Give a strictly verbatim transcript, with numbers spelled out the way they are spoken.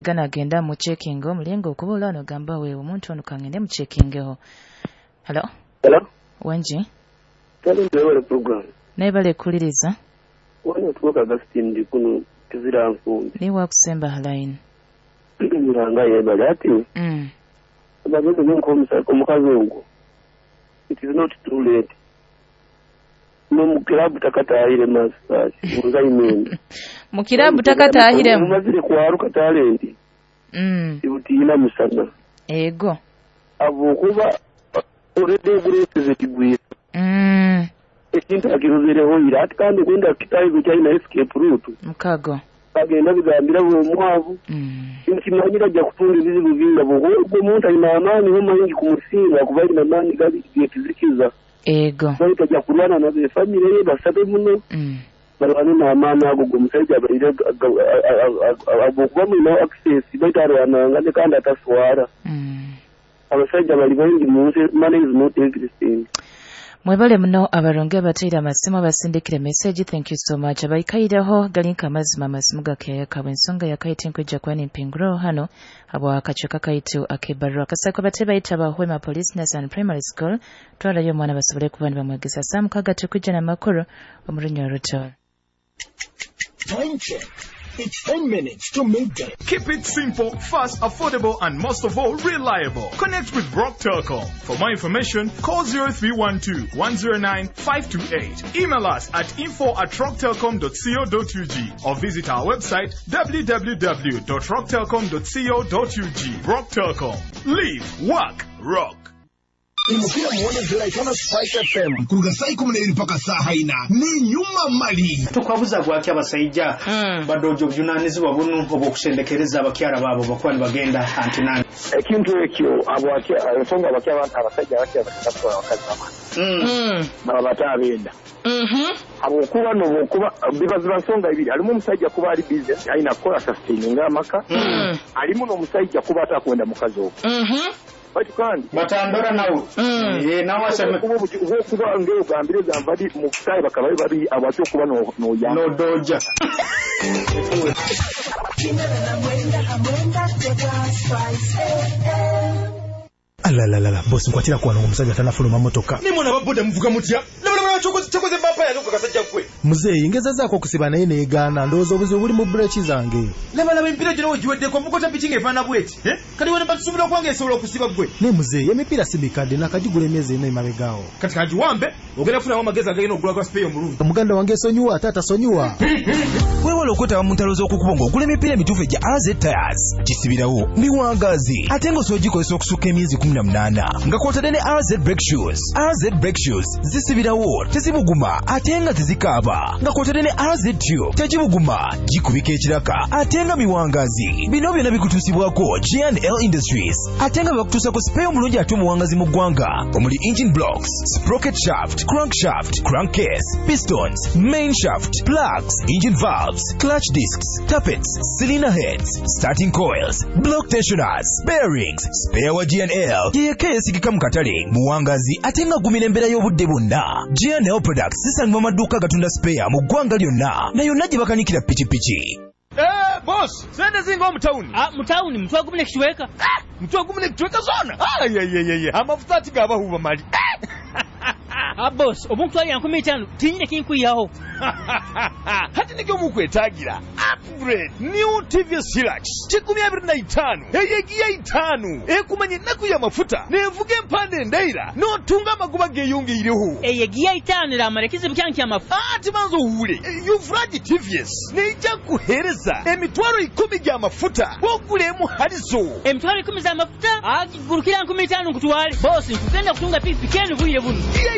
Gana agenda mu checking omulingo okuba olano gamba wewe omuntu ono kangende mu checkingeho. Hello? Hello? Wangi? Tali ndewele program. Naye bale kuliriza. Wano tukoka Augustine ndi kuno kizira nfumbi. Niwe wakusemba line. Nganga yebale ati. Mm. Abagezi nko omukazi ogwo. It is not too late. No mu club takatahire masters. Uzaimende. Mu club takatahire. Mumazire kwaruka talent. Mm. Ibutiina musana. Ego. Abo kuba already great zikigwira. Mm. Ekintu akiruzireho ira ati kandi gwenda kitayi kyalina escape route. Mukago. Bagenda bigambira omwavu. Mm. Nkimanyira ajja kutunga ebizibu bingi bw'ogwo omuntu alina amaanyi ho mangi kumusinga kuba alina amaanyi gali gekizikiza. Ego. Baitu ajja kulwana nabe famire ye basabe muno. Mm. Balwane n'amaanyi ago g'omusajja abaire abokuba mulina access baitu alwananga ne kandi ataswara. Mm. Abasajja bali bangi mu nsi, money is not everything. Mwebale muno abaronge abateera amasimu abasindikire message, thank you so much. Abaikaireho galinka amazima amasimu gakeyaka ensonga yakaite nkwijja kuba nempinguro hano abo akacweka kaitu akebarua kasako bate bayita Bahwema Police Nursery Primary School twalayo omwana basobole kuba nibamwegesa saa mukaaga tukujja n'amakuru omurunya orutooro. Time check. It's ten minutes to midday. Keep it simple, fast, affordable, and most of all, reliable. Connect with Rock Telcom. For more information, call zero three one two one zero nine five two eight. Email us at info at rocktelcom dot co dot U G or visit our website w w w dot rocktelcom dot co dot U G. Rock Telcom. Live, work, rock. Imupira muwonezera itana Spice F M kuruga saa ikumi n'ebiri paka saaha ina ni nyuma mali. Tukwabuza gwaki abasajja badoja obuvunanyizibwa buno obw'okusendekereza abakyala baabo bakuba nibagenda antinani? Ekintu ekyo abo ensonga abakya abasajja abakya batatu abakazi baba baba batabenda habwokuba nobwokuba biba ziba nsonga ibiri. Alimu omusajja kuba ali busy alina kukola sustaining amaka, alimu n'omusajja kuba atakwenda mukazi ogwo baitu kandi batandora nawe eh nawe aseme. Okuba ng'ogambire gamba bali mu butayi bakaba bali babiri abaki okuba noyamba. Nodoja. Alalalala, bosi, nkwatira kuwano omusajja tanafuluma motoka. Nimwe ababoda muvuga mutya? Labalabala, kyokoze bampa yange ku kasajja gwe. Muzeeyi, ngezezaako okusiba naye neegaana. Ndowooza obuzibu buli mu bureki zange. Labalaba emipiira gyona wegiweddeko mukota piki ng'efaanana bweti. Eh? Kati wena batusuubira okuba ng'esobola okusiba gwe? Naye muzeeyi, emipiira si mikadde, nakagigula emyezi ena emabegaawo. Kati kagiwambe ogenda kufunamu amagezi agagenda okugula gwa spare omulungi. Muganda wange esonyiwa ate atasonyiwa. Weewala okwetaba mu ntalo z'okukubo ng'ogula emipiira emituufu egya A Z Tires. Gisibirawo miwangaazi ate ng'osobola ogikozesa okusukka emyezi kkumi na munaana nga kw'otadde ne A Z brake shoes. A Z brake shoes zisibirawo, tezibuguma ate nga tezikaaba nga kw'otadde ne A Z tube tegibuguma, gikubika ekiraka ate nga miwangaazi. Bino byonna bikutuusibwako G and L Industries ate nga bakutuusako spare omulungi ate omuwangazi mu ggwanga omuli engine blocks, sprocket shaft, crankshaft, crankcase, pistons, main shaft, plugs, engine valves, clutch discs, tappets, cylinder heads, starting coils, block tensioners, bearings. Spare wa G and L yeyekka yeesigika mu katale, muwangazi ate nga agumira embeera y'obudde bwonna. G and L products zisangibwa mu maduuka agatunda spare mu ggwanga lyonna na yonna gye bakanikira pikipiki. Eh, boss, sente zinga omutawuni. Ah, mutawuni mutwe gumu nekitweka. Mutwe gumu nekitweka zona. Ayayayaya, amafuta ati gabahuba mali. Ah, boss, obunkutwalira nkumi itaano tinyine kinkwiyaho. Hati nigyo mukwetagira upgrade new T V S Hilux kikumi abiri na itaano eyegiya itaano ekumanya ennaku y'amafuta nevuga empande endaira n'otunga amagoba geeyongeireho. Eyegiya itaano eramara ekizibu kyange kyamafuta. Ati banza owuule Yuvraj T V S neija kuheereza emitwalo ikumi gy'amafuta bw'ogula halizo. Emitwalo ikumi z'amafuta agigurukira nkumi itaano nkutwale bosi, nkugenda kutunga pikipiki eno bwire buno. Giya.